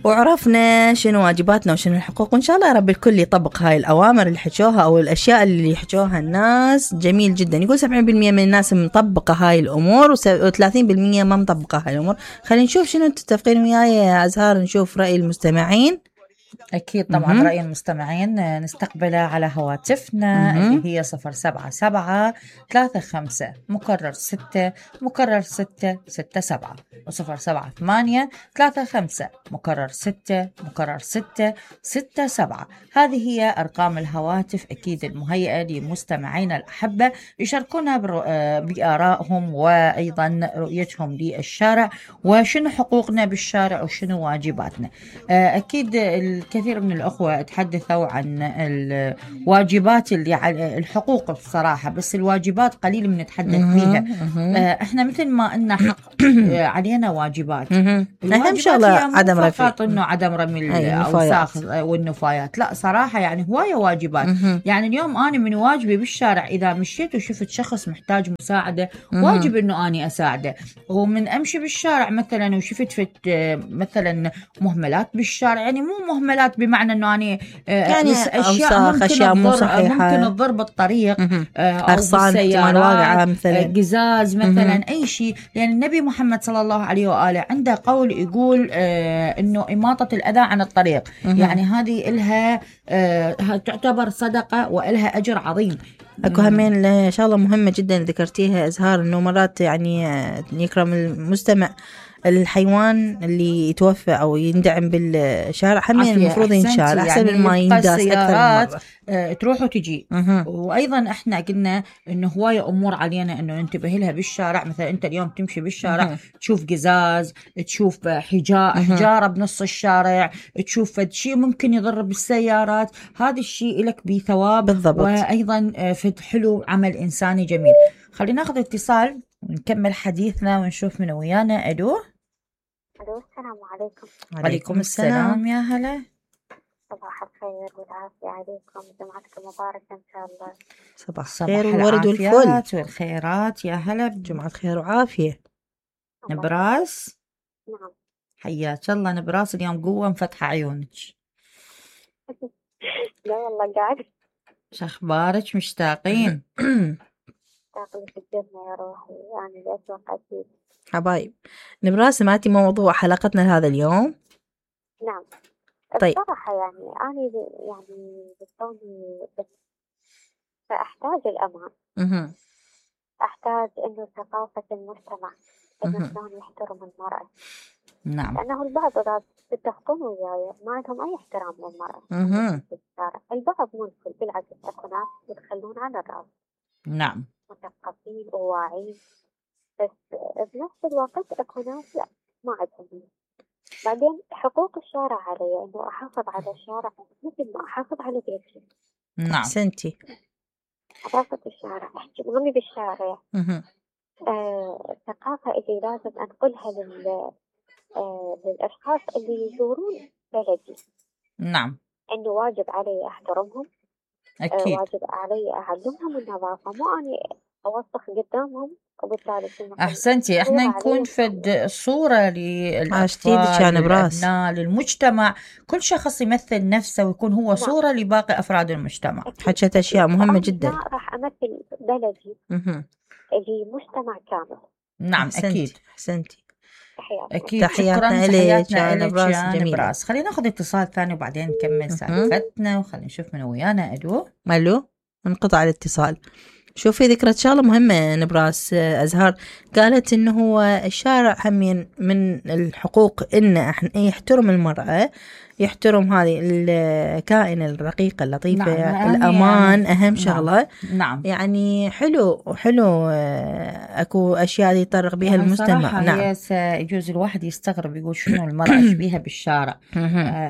وعرفنا شنو واجباتنا وشنو الحقوق، وإن شاء الله يا رب الكل يطبق هاي الأوامر اللي حكوها أو الأشياء اللي يحكوها الناس. جميل جدا. يقول 70% من الناس مطبقة هاي الأمور و30% ما مطبقة هاي الأمور. خلينا نشوف شنو تتفقين وياي يا أزهار، نشوف رأي المستمعين. أكيد طبعا رأي المستمعين نستقبله على هواتفنا اللي هي 077-35 مكرر 6 مكرر 667 و078-35 مكرر 6 مكرر 667. هذه هي أرقام الهواتف أكيد المهيئة لمستمعينا الأحبة يشاركونا بآرائهم وأيضا رؤيتهم للشارع وشنو حقوقنا بالشارع وشنو واجباتنا. أكيد الكثير من الأخوة تحدثوا عن الواجبات اللي على الحقوق بصراحة، بس الواجبات قليل من نتحدث فيها. احنا مثل ما إننا حق علينا واجبات. أهم شغلة عدم رمي، فقط إنه عدم رمي الأوساخ والنفايات، لا صراحة يعني هواية واجبات. يعني اليوم أنا من واجبي بالشارع إذا مشيت وشفت شخص محتاج مساعدة واجب إنه أنا أساعده. ومن أمشي بالشارع مثلا وشفت مثلا مهملات بالشارع، يعني مو مهملات بمعنى انه اني يعني اشياء ممكن تضر بالطريق او بالسيارات، مثلا قزاز مثلا اي شيء. يعني النبي محمد صلى الله عليه واله عنده قول يقول انه اماطة الاذى عن الطريق. يعني هذه لها تعتبر صدقة والها اجر عظيم. اكو همين شغله مهمه جدا ذكرتيها أزهار، انه مرات يعني يكرم المستمع الحيوان اللي يتوفى أو يندعم بالشارع همين المفروض ينشال أحسن من ما ينداس أكثر مرة. تروح وتجي. وأيضا إحنا قلنا إنه هواية أمور علينا إنه ننتبه لها بالشارع. مثلا أنت اليوم تمشي بالشارع تشوف قزاز، تشوف حجارة بنص الشارع، تشوف شيء ممكن يضر بالسيارات، هذا الشيء لك بثواب بالضبط. وأيضا فد حلو عمل إنساني جميل. خلينا ناخذ اتصال ونكمل حديثنا ونشوف من ويانا. ألو السلام عليكم. وعليكم السلام يا هلا. صباح الخير والعافية عليكم، جمعتكم مباركة إن شاء الله. صباح الخير والورد والفل والخيرات يا هلا، بجمعة خير وعافية. نبراس. نعم حياك الله نبراس، اليوم قوة مفتحة عيونك. لا والله قاعد. شخبارك مشتاقين؟ تاقلي في الجنة يا روحي، يعني الأسواق أكيد. حبايب نبراس، سمعتي موضوع حلقتنا لهذا اليوم؟ نعم. طيب. بصراحة يعني أنا يعني بكوني فأحتاج الأمان. أحتاج إنه ثقافة المجتمع إنه شلون يحترم المرأة. نعم. لأنه البعض إذا تتفقون وياي ما عندهم أي احترام للمرأة. البعض منكر بالعكس، أكو ناس يتخلون على الرأس. نعم. مثقفين وواعين، بس بنفس الوقت أكو ناس لا ما عندهم. بعدين حقوق الشارع علي إنه أحافظ على الشارع مثل ما أحافظ على بيتي. نعم. أحسنتي. حافظة الشارع، أحكي مهمي بالشارع. الثقافة اللي لازم أنقلها للأشخاص اللي يزورون بلدي. نعم. إنه واجب علي أحترمهم. أكيد. واجب علي أعلمهم النظافة، مو أني أوسخ قدامهم وبالتالي أحسنتي. إحنا نكون فد صورة للأطفال للأبناء للمجتمع، كل شخص يمثل نفسه ويكون هو صورة لباقي أفراد المجتمع. حكيت أشياء مهمة جدا. راح أمثل بلدي لمجتمع كامل. نعم. أكيد. أحسنتي. أكيد. تحياتنا لك يا نبراس. خلينا ناخذ اتصال ثاني وبعدين نكمل سالفتنا وخلينا نشوف من ويانا. ألو انقطع الاتصال. شوفي ذكرت شغلة مهمة نبراس أزهار، قالت إنه هو الشارع همين من الحقوق إنه إحنا يحترم المرأة، يحترم هذه الكائنة الرقيقة اللطيفة. نعم. الأمان يعني أهم شغلة. نعم. يعني حلو أكو أشياء يطرق بها يعني المجتمع. نعم. يجوز الواحد يستغرب يقول شنو المرأة شبيها بالشارع.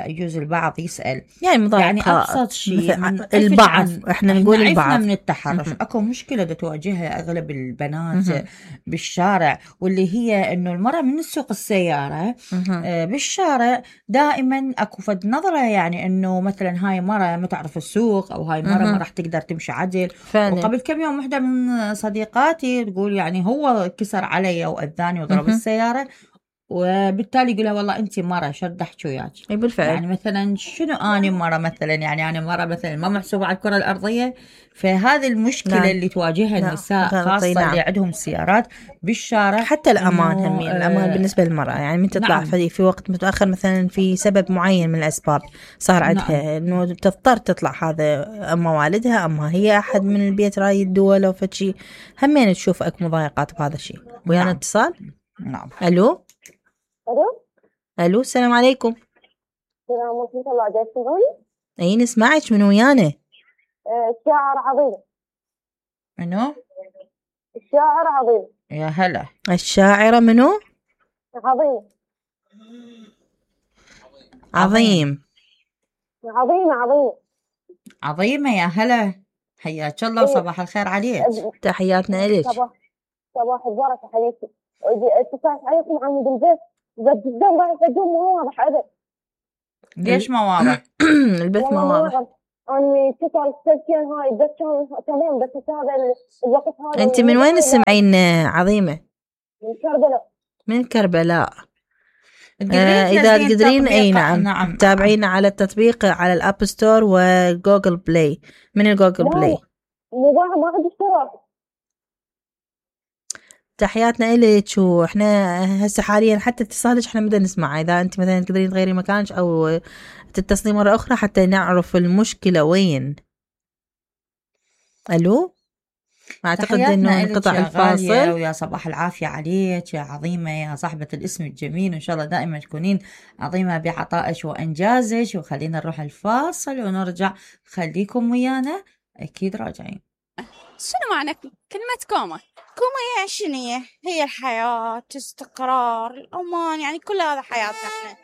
يجوز البعض يسأل يعني أبسط شيء البعض إحنا نقول البعض من التحرش. أكو مشكلة تواجهها أغلب البنات بالشارع، واللي هي إنه المرأة من تسوق السيارة بالشارع دائما أكو فد نظرة، يعني إنه مثلا هاي مرة ما تعرف السوق أو هاي مرة ما راح تقدر تمشي عدل. وقبل كم يوم واحدة من صديقاتي تقول يعني هو كسر علي وأذاني وضرب السيارة وبالتالي يقول لها والله انت مره شو بدي احكي وياك. اي بالفعل. يعني مثلا شنو اني مره مثلا، يعني انا مره مثلا ما محسوبه على الكره الارضيه. فهذه المشكله نعم. اللي تواجهها نعم. النساء غلطي. خاصه نعم. اللي عندهم سيارات بالشارع. حتى الأمان إنه، همين الأمان بالنسبة للمرأة، يعني من تطلع نعم. في وقت متأخر مثلا في سبب معين من الأسباب صار عندها نعم. إنه تضطر تطلع، هذا أما والدها أما هي أحد من البيت راي الدول أو فشي، همين تشوف أكو مضايقات بهذا الشيء. ويانا نعم. اتصال. نعم. ألو. الو ألو السلام عليكم. السلام ورحمة الله. جاي تسمعوني؟ أي نسمعك، من ويانا؟ الشاعر عظيم. منو؟ الشاعر عظيم. يا هلا. الشاعرة منو؟ عظيم. عظيم. عظيمة. عظيمة. يا هلا، حياك الله وصباح الخير عليك. تحياتنا إليك. صباح البركة حبيبتي. اتصلت عليكم عن البيت بس جدا رايح اقوم مو واضح ابد. ليش ما واضح؟ البث ما واضح. أنا اتصل سكين هاي بس كان تمام، بس هذا الوقت هذا. أنت من وين تسمعين عظيمة؟ من كربلاء. من كربلاء. إذا تقدرين أي نعم تتابعينا على التطبيق على الأب ستور وجوجل بلاي. من الجوجل بلاي. ما عندي اشتراك. تحياتنا إليك. وإحنا هسه حاليا حتى اتصالك إحنا بدنا نسمع، إذا أنت مثلا تقدرين تغيري مكانك أو تتصلي مرة أخرى حتى نعرف المشكلة وين. ألو. أعتقد إنه انقطع الفاصل. ويا صباح العافية عليك يا عظيمة، يا صاحبة الاسم الجميل، وإن شاء الله دائما تكونين عظيمة بعطائك وإنجازك. وخلينا نروح الفاصل ونرجع. خليكم ويانا، أكيد راجعين. شنو معنى كلمة كوما؟ كوما هي شنو هي الحياة، استقرار، الأمان، يعني كل هذا حياتنا احنا.